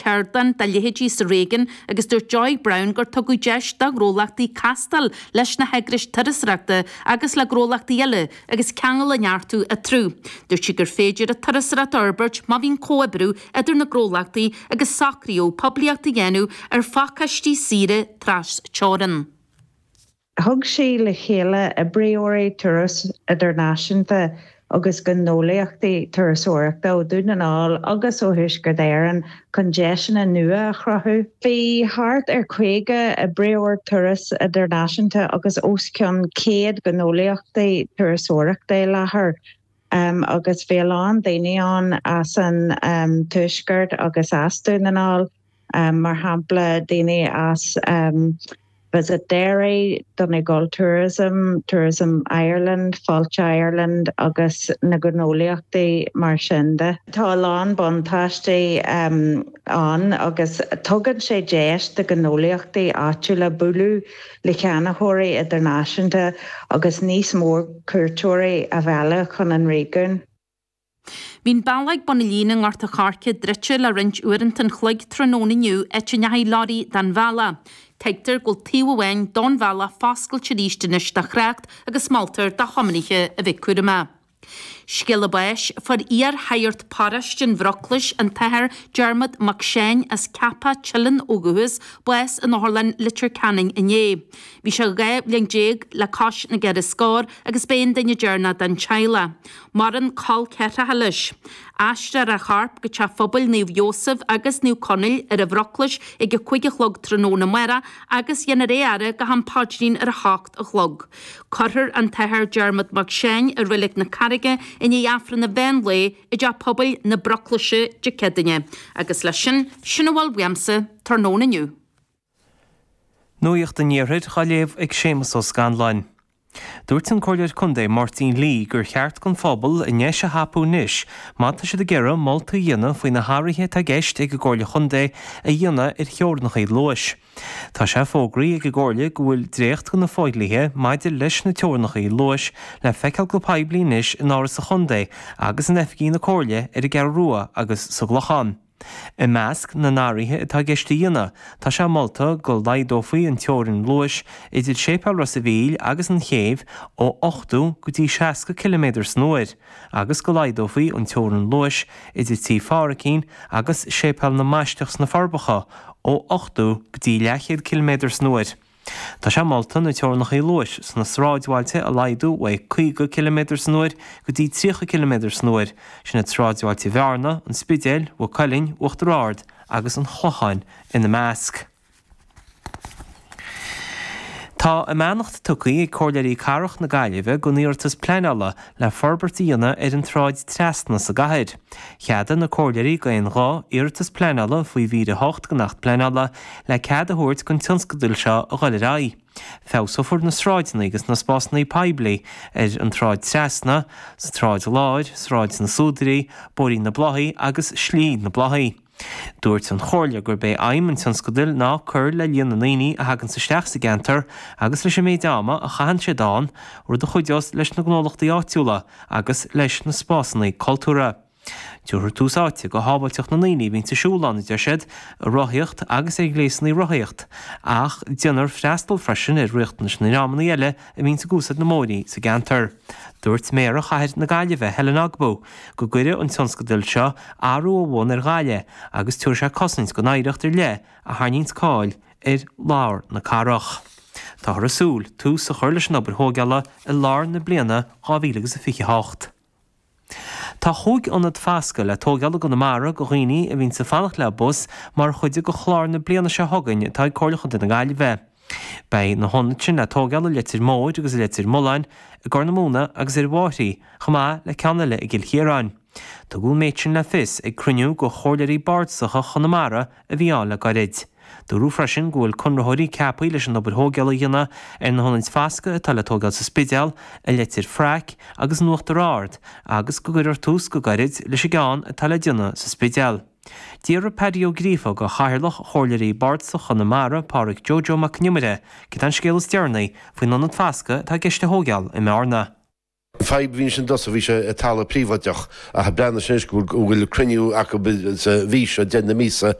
ceardlann dá leithéidí sa réigiún agus dúirt Joy Browne gur tugadh deis do ghnólachtaí castáil leis na heagrais turasóireachta agus le gnólachtaí eile agus ceangal a neartú eatarthu. Dúirt sí gur féidir an turasóireacht a fhorbairt má bhíonn comhoibriú idir na gnólachtaí agus socraíodh poiblíocht a dhéanamh ar phacáistí saoire tras-teorann. Thug sí le chéile oibreoirí turas idirnáisiúnta agus gnólachtaí turasóireachta ó Dhún na nGall agus ó Thuaisceart Éireann chun deiseanna nua a chruthú. Bhí thart ar 50 oibreoir turas idirnáisiúnta agus os cionn 100 gnólachtaí turasóireachta i láthair agus bhí a lán daoine ann as an Tuaisceart agus as Dún na nGall. mar shampla daoine as Visit Derry, Donegal Tourism, Tourism Ireland, Fáilte Ireland agus na gnólachtaí mar sin de. Tá a lán buntáistí ann agus tugann sé deis do ghnólachtaí áitiúla bualadh le ceannaitheoirí idirnáisiúnta agus níos mó cuairteoirí a mhealladh chun an réigiúin. Bhí an bealach ag bun na líne i nGort a' Choirce druidte le roinnt uaireanta an chloig tráthnóna inniu áit a ndeachaigh leoraí den bhealach. Tuigtear go bhfuil taobh amháin don bhealach foscailte arís anois do thrácht agus moltar do thiománaithe a bheith cúramach. Scéala báis, Fuair iar-shagart paróiste an Bhruclais, an tAthair Diarmuid Mac Seáin as Ceapach Teileann ó dhúchas, bás in Otharlann Leitir Ceanainn inné. Bhí sé 12 bhliain le cois na gceithre scór agus b'é an duine deireanach den teaghlach. Maireann col ceathracha leis. Aistreofar a chorp go Teach Phobail Naomh Iósaf agus Naomh Conaill ar an Bhruclais ag a 5 a chlog tráthnóna amárach agus dhéanfar é a fhaire go ham paidrín ar a hocht a chlog. Cuirfear an tAthair Diarmuid Mac Seáin i Reilig na Carraige i ndiaidh Aifreann an mheán lae i dTeach Pobail na Bruclaise Dé Céadaoine. Agus leis sin, sin a bhfuil uaimse tráthnóna inniu. Nuacht an Iarthair á léamh ag Séamus Ó Scanláin. Dúirt an Comhairleoir Contae Máirtín Lee gur cheart don phobal a ndeis a thapú anois má tá siad ag iarraidh moltaí a dhéanamh faoi na hathruithe atá i gceist ag an gComhairle Chontae a dhéanamh ar theorainneacha luais. Tá sé fógraithe ag an gComhairle go bhfuil dréacht de na fodhlíthe maidir leis na teorainneacha luais le feiceáil go poiblí anois in Áras an Chontae agus in oifigí na Comhairle ar an gCeathrú Rua agus sa gClochán. I measc na n-athruithe atá i gceist a dhéanamh, tá sé molta go laghdófaí an teorainn luais idir Séipéal Ros a' Mhíl agus an Chéibh ó 80 go dtí 60 ciliméadar san uair agus go laghdófaí an teorainn luais idir Tí Phádhraicín agus Séipéal na mBaisteach sna Forbacha ó 80 go dtí leathchéad ciliméadar san uair. Tá sé molta na teorainneacha luais sna sráidbhailte a laghdú ó 50 ciliméadar san uair go dtí 30 ciliméadar san uair, sin iad sráidbhailte Bhearna, an Spidéil, Mhaigh Cuilinn, Uachtar Ard agus an Chlocháin ina measc. Tá a mbeannacht tugtha ag Comhairleoirí Cathrach na Gaillimhe don iarratas pleanála le forbairt a dhéanamh ar an tSráid Trasna sa gcathair. Cheadaigh na Comhairleoirí d'aon ghuth iarratas pleanála faoi mhír 8 den Acht Pleanála le cead a thabhairt don tionscadal seo a dhul ar aghaidh. Feabhsófar na sráideanna agus na spásanna poiblí ar an tSráid Trasna, sa tSráid Láir, Sráid na Súdairí, Bóithrín na Bláthaí agus Slí na Bláthaí. Dúirt an Chomhairle gurb é aidhm an tionscadail ná cur le líon na ndaoine a thaganns isteach sa gceantar agus leis an méid ama a chaitheann siad ann, rud a chuideos leis na gnólachtaí áitiúla agus leis na spásanna cultúrtha. Tabharfar tús áite do shábháilteacht na ndaoine a bhíonns ag siúl ann, a deir siad, ag rothaíocht agus ar ghléasanna rothaíocht, ach déanfar freastal freisin ar riachtanais na ndreamanna eile a bhíonns ag úsáid na mbóithrí sa gceantar. Dúirt Méara Chathair na Gaillimhe, Helen Ogbu, go gcuirfidh an tionscadal seo athrú ó bhun ar Ghaillimh agus tabharfaidh sé cosaint don oidhreacht ar leith a tharraingíonns cáil ar lár na cathrach. Táthar ag súil tús a chur leis an obair thóigeála i lár na bliana 2028. Tá chúig ionad fascadh le tóigeáil i gConamara go dhaoine a bhíonns ag fanacht le bus mar chuid de chlár na bliana seo chugainn atá ag Comhairle Chontae na Gaillimhe. Beidh na hionaid sin le tóigeáil i Leitir Móir agus i Leitir Mealláin, i gCorr na Móna agus ar an bhFairche, chomh maith le ceann eile i gCill Chiaráin. Tugadh an méid sin le fios ag cruinniú de Chomhairleoirí Bardasacha Chonamara a bhí ann le gairid. Dúradh freisin go bhfuil conraitheoirí ceaptha leis an obair thóigeála a dhéanamh ar na hionaid fascadh atá le tóigeáil sa Spidéal, i Leitir Fraic agus in Uachtar Ard agus go gcuirfear tús go gairid leis an gceann atá le déanamh sa Spidéal. D'fhiafraigh Paddy Ó Gríofa de Chathaoirleach Chomhairleoirí Bardasacha Chonamara, Pádhraic Joe Joe Mac Con Iomaire, céard é an scéal is deireanaí faoin ionad fascadh atá i gceist a thóigeáil i mBearna. An fadhb a bhí ansin i dtosach, bhí sé i talamh príobháideach ach breathnaigh sé anois go bhfuil cruinniú acu sa mhí seo, deireadh na míosa.